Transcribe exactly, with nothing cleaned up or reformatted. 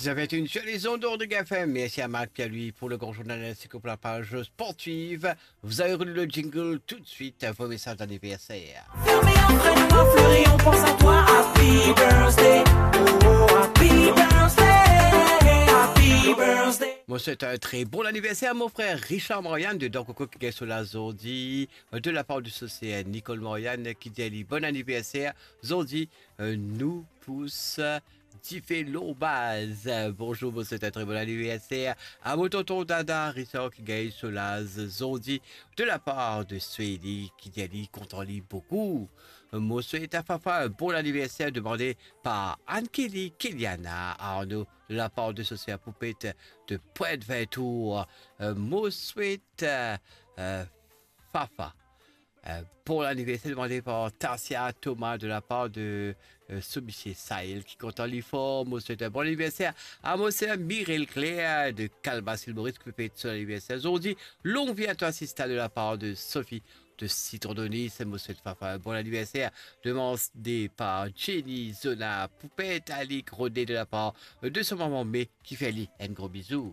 Vous avez une jolie zone d'Ordre F M. Merci à Marc Pierre-Louis pour le grand journal ainsi que pour la page sportive. Vous avez relu le jingle tout de suite, vos messages d'anniversaire. Mo swet enn tre bon aniverser a mo frer Richard Marianne de Dankoko ki gagn so laz zordi, euh, de lapar de so ser Nicole Marianne ki dir li bon aniverser zordi, euh, nou pous dife lor baz. Bonzour, mo swet enn tre bon aniverser a mo tonton Dada Richard ki gagn so laz zordi, de lapar de Sweli ki dir li kontan li boukou. Mo swet a Fafa enn bon aniverser, demande par Anne-Kelly Keliana Arnaud, de lapar de so ser Poupet de Pointe-Vintour. Euh, mo swet, euh, euh, Fafa enn bon aniverser, demande par Tarsia Thomas de lapar de, euh, so misie Saël ki kontan li for. Mo swet enn bon aniverser a mo ser Mireille Claire de Calmas, Ile Maurice, ki pe fet so laniverser zordi. Long vie à toi, sista, de lapar de Sophie de Citron Donis. Mo swet Fafa enn bon aniverser. Demande par Jenny Zona, Poupet, Alic Rodé, de lapar de so mama Me ki fer li enn gro bizou.